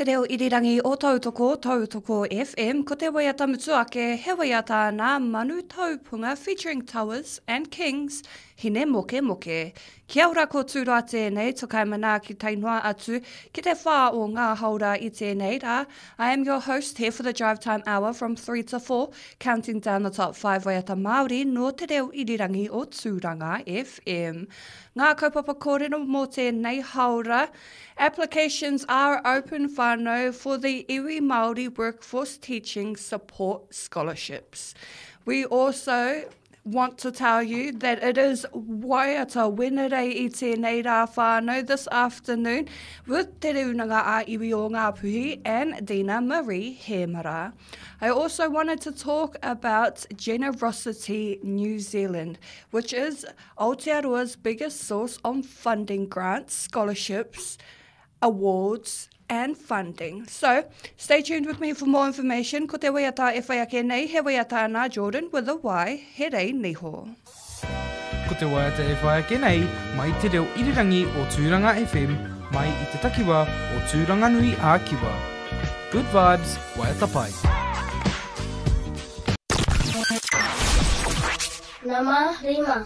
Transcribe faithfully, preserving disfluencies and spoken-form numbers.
Te reo irirangi o Tautoko, Tautoko FM, ko te waiata mutu ake, he waiata nā Manu Taupunga featuring Towers and Kings, Hine Moke Moke. Kia ora ko Tūroa tēnei, tokai manaaki tae noa atu ki te whā o ngā haora i tēnei rā. I am your host here for the drive time hour from three to four, counting down the top five waiata Māori nō te reo irirangi o Tūranga F M. Ngā kaupapa kōrero mō tēnei haora. Applications are open, whānau, for the Iwi Māori Workforce Teaching Support Scholarships. We also want to tell you that it is Waiata Wenerei i tēnei rā, whānau, this afternoon with Te Rūnanga a Iwi o Ngāpuhi and Dina Marie Hemara. I also wanted to talk about Generosity New Zealand, which is Aotearoa's biggest source on funding grants, scholarships, awards and funding. So, stay tuned with me for more information. Ko te waiata e whai ake nei, he waiata nā Jordan with a Y, he rei niho. Ko te waiata e whai ake nei, mai te reo irirangi o Tūranga F M, mai i te takiwa o Tūranganui a Kiwa. Good vibes, waiata pai. Nama rima.